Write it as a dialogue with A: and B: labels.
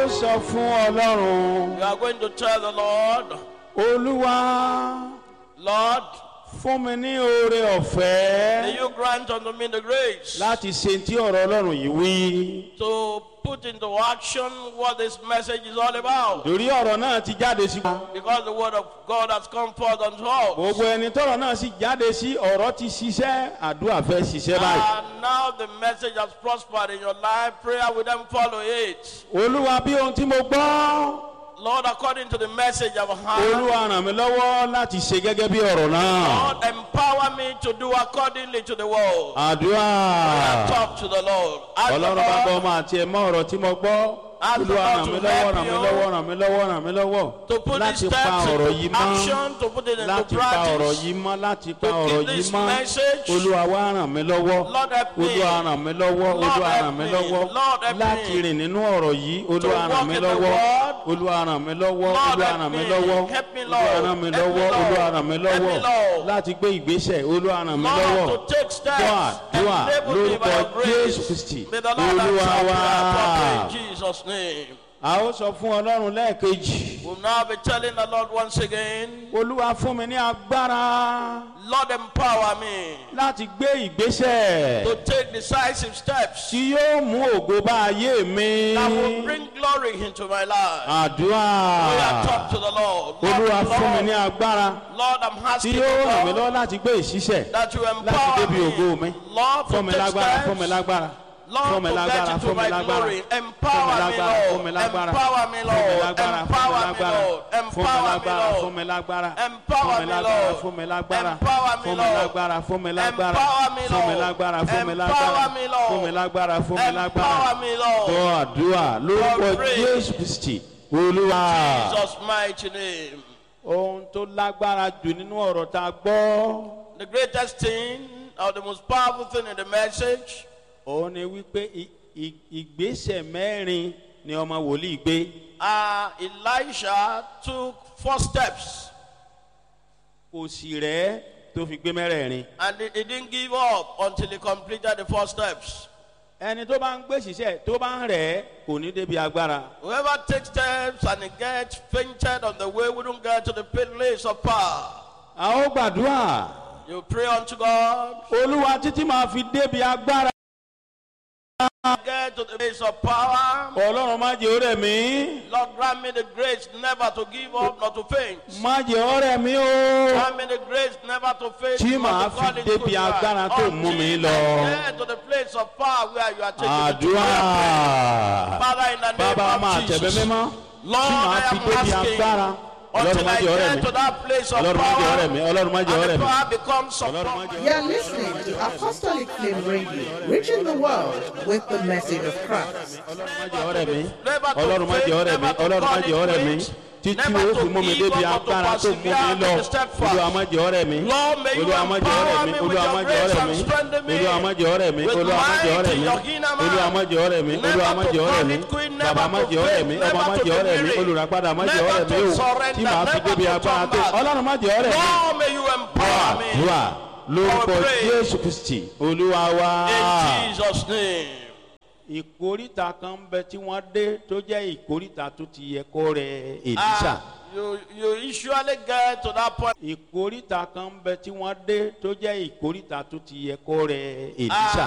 A: Ó sọ fún Ọlọ́run.
B: You are going to tell the Lord,
A: Olúwa,
B: Lord,
A: fún mi ní oore ọ̀fẹ́
B: may you grant unto me the grace
A: láti ṣe tí ọ̀rọ̀ Ọlọ́run yìí wí.
B: to put into action what this message is all about.
A: Torí ọ̀rọ̀ náà ti jáde sí.
B: Because the word of God has come forth unto us.
A: Gbogbo ẹni tọ́rọ̀ náà sì jáde sí, ọ̀rọ̀ ti ṣiṣẹ́, àdúrà fẹ́ ṣiṣẹ́ báyìí.
B: And now the message has prospered in your life. Prayer will then follow it.
A: Olúwa, bí ohun tí mo gbọ́.
B: Lord, according to the message I've heard,
A: Olúwa, ràn mí lọ́wọ́ láti ṣe gẹ́gẹ́ bí ọ̀rọ̀ náà.
B: Lord, empower me to do accordingly to the word.
A: Àdúrà.
B: Talk to the Lord. Ask the
A: Ọlọ́run bá gbọ́
B: Lord
A: ọmọ àti ẹ̀mọ́ ọ̀rọ̀ tí mo gbọ́.
B: Ask the
A: Olúwa,
B: Lord
A: ràn
B: to
A: mí lọ́wọ́,
B: help
A: ràn mí
B: you
A: lọ́wọ́, ràn mí lọ́wọ́, ràn mí lọ́wọ́
B: to put
A: láti
B: these
A: pa
B: steps
A: ọ̀rọ̀ yìí
B: into
A: mọ́.
B: action, to put it into
A: Láti pa ọ̀rọ̀
B: practice.
A: yìí mọ́, láti pa
B: To
A: ọ̀rọ̀
B: keep
A: yìí
B: this
A: mọ́.
B: message.
A: Olúwa, wá ràn mí lọ́wọ́.
B: Lord, help me.
A: Olúwa, ràn mí lọ́wọ́.
B: Lord,
A: Olúwa,
B: help
A: ràn mí
B: me.
A: lọ́wọ́
B: Lord, help me.
A: láti rìn nínú ọ̀rọ̀ yìí. Olúwa,
B: To
A: ràn
B: walk
A: mí
B: in the
A: lọ́wọ́.
B: word.
A: Olúwa, ràn mí lọ́wọ́.
B: Lord,
A: Olúwa,
B: help
A: ràn mí
B: me.
A: lọ́wọ́.
B: Help me,
A: Olúwa,
B: Lord.
A: ràn mí
B: Help me,
A: lọ́wọ́.
B: Lord.
A: Olúwa, ràn mí
B: Help me,
A: lọ́wọ́
B: Lord.
A: láti gbé ìgbésẹ̀. Olúwa, ràn mí lọ́wọ́.
B: Lord, to take steps.
A: Dúà, dúà
B: Enable me by
A: lórúkọ
B: your grace.
A: Jésù Kristi.
B: May the Lord
A: Olúwa
B: answer
A: wa.
B: prayer properly in Jesus' name.
A: A ó sọ fún Ọlọ́run lẹ́ẹ̀kejì.
B: We'll now be telling the Lord once again,
A: Olúwa, fún mi ní agbára
B: Lord, empower me
A: láti gbé ìgbésẹ̀
B: to take decisive steps
A: tí yóò mú ògo bá ayé mi.
B: that will bring glory into my life.
A: Àdúrà.
B: We are talk to the Lord. Lord,
A: Olúwa, fún mi ní
B: Lord,
A: agbára
B: Lord, I'm
A: tí
B: asking
A: yóò ràn mí
B: you,
A: lọ́wọ́
B: Lord,
A: láti gbé ìṣiṣẹ́
B: that you
A: láti
B: empower
A: débi ògo mi.
B: me. Lord,
A: Fún
B: to
A: mi
B: take
A: lágbára, fún mi
B: steps.
A: lágbára.
B: Lord,
A: Fún mi
B: to
A: lágbára,
B: get into
A: fún mi
B: my
A: lágbára.
B: glory.
A: Fún mi
B: Empower me,
A: lágbára, fún mi
B: Lord.
A: lágbára.
B: Empower me,
A: Fún mi
B: Lord.
A: lágbára,
B: Empower me, Lord.
A: fún mi
B: Empower me,
A: lágbára,
B: Lord.
A: fún mi lágbára.
B: Empower
A: Fún mi
B: me,
A: lágbára,
B: Lord.
A: fún mi lágbára.
B: Empower me,
A: Fún mi
B: Lord.
A: lágbára, fún mi lágbára.
B: Empower me,
A: Fún mi
B: Lord.
A: lágbára, fún mi
B: Empower
A: lágbára.
B: me, Lord.
A: Fún mi lágbára, fún mi lágbára.
B: Empower me, Lord.
A: Gbọ́ àdúrà lórúkọ
B: pray.
A: Jésù Kristi. Olúwa.
B: Jesus' mighty name.
A: Ohun tó lágbára jù nínú ọ̀rọ̀ tá a gbọ́.
B: The greatest thing or the most powerful thing in the message
A: Òun ni wípé ìgbésẹ̀ mẹ́rin ni ọmọ wòlíì gbé.
B: Elisha took four steps
A: Kò sì rẹ́ tó fi gbé mẹ́rẹ̀ẹ̀rin.
B: and he didn't give up until he completed the four steps.
A: Ẹni tó bá ń gbé ṣiṣẹ́ tó bá ń rẹ̀ kò ní débi agbára.
B: Whoever takes steps and he gets fainted on the way wouldn't get to the place of power.
A: A ó gbàdúrà.
B: You pray unto God,
A: Olúwa, títí máa fi débi agbára.
B: get to the place of power.
A: Ọlọ́run, má jẹ́ ó rẹ̀ mí.
B: Lord, grant me the grace never to give up, not to faint.
A: Má jẹ́ ó rẹ̀ mí o.
B: Grant me the grace never to faint,
A: Tí
B: not
A: màá
B: to
A: fi
B: call it
A: débi
B: good
A: agbára tó mú mi
B: Until
A: lọ.
B: I get to the place of power where you are taking me to.
A: Àdúrà.
B: Father, in the name
A: Bàbá
B: of
A: máa tẹ̀bẹ́
B: Jesus.
A: mímọ́. Tí
B: Lord,
A: màá
B: I
A: fi
B: am
A: débi
B: asking
A: agbára. Ọlọ́run,
B: until
A: má
B: I
A: jẹ́ ó rẹ̀
B: get
A: mí.
B: to that place of
A: Ọlọ́run, má jẹ́ ó rẹ̀
B: power
A: mí. Ọlọ́run, má jẹ́ ó
B: and
A: rẹ̀
B: the
A: mí.
B: power becomes
A: Ọlọ́run, má
B: upon
A: jẹ́ ó
B: my
A: rẹ̀
C: You're listening to Apostolic Flame Radio, reaching the world with the message of Christ.
A: Ọlọ́run, má jẹ́ ó rẹ̀ mí.
B: Never to
A: Ọlọ́run, má jẹ́ ó rẹ̀ mí.
B: faint, never to
A: Ọlọ́run, má
B: call
A: jẹ́ ó
B: it
A: rẹ̀ mí.
B: quits,
A: Títí
B: never
A: ó
B: to
A: fi mú mi
B: give
A: débi
B: up or to
A: agbára tó mú mi
B: persevere
A: lọ.
B: to the steadfast.
A: Olúwa, má jẹ́ ó rẹ̀ mí.
B: Lord, may you
A: Olúwa, má jẹ́ ó rẹ̀
B: empower
A: mí.
B: me with
A: Olúwa, má
B: your
A: jẹ́ ó
B: grace
A: rẹ̀
B: and
A: mí.
B: strengthen me
A: Olúwa, má jẹ́ ó rẹ̀ mí.
B: with
A: Olúwa, má jẹ́ ó
B: might
A: rẹ̀
B: in
A: mí.
B: your inner man.
A: Olúwa, má jẹ́ ó rẹ̀ mí.
B: Never
A: Olúwa, má
B: to
A: jẹ́ ó rẹ̀
B: call
A: mí.
B: it quit,
A: Bàbá,
B: never
A: má
B: to
A: jẹ́ ó rẹ̀
B: faint,
A: mí. Ọmọ,
B: never
A: má
B: to
A: jẹ́ ó
B: be
A: rẹ̀ mí.
B: weary,
A: Olùràpadà, má jẹ́ ó
B: never
A: rẹ̀ mí
B: to
A: o. Tí
B: surrender,
A: màá fi
B: never
A: débi
B: to
A: agbára
B: turn
A: tó.
B: back.
A: Ọlọ́run, má jẹ́ ó rẹ̀ mí.
B: Lord, may you empower me
A: Àdúrà lórúkọ
B: I pray.
A: Jésù Kristi Olúwa wa.
B: in Jesus' name.
A: Ìkóríta kan ń bẹ tí wọ́n dé tó jẹ́ ìkóríta tó ti yẹ kó rẹ Èlísà.
B: You usually get to that point.
A: Ìkóríta kan ń bẹ tí wọ́n dé tó jẹ́ ìkóríta tó ti yẹ kó rẹ Èlísà.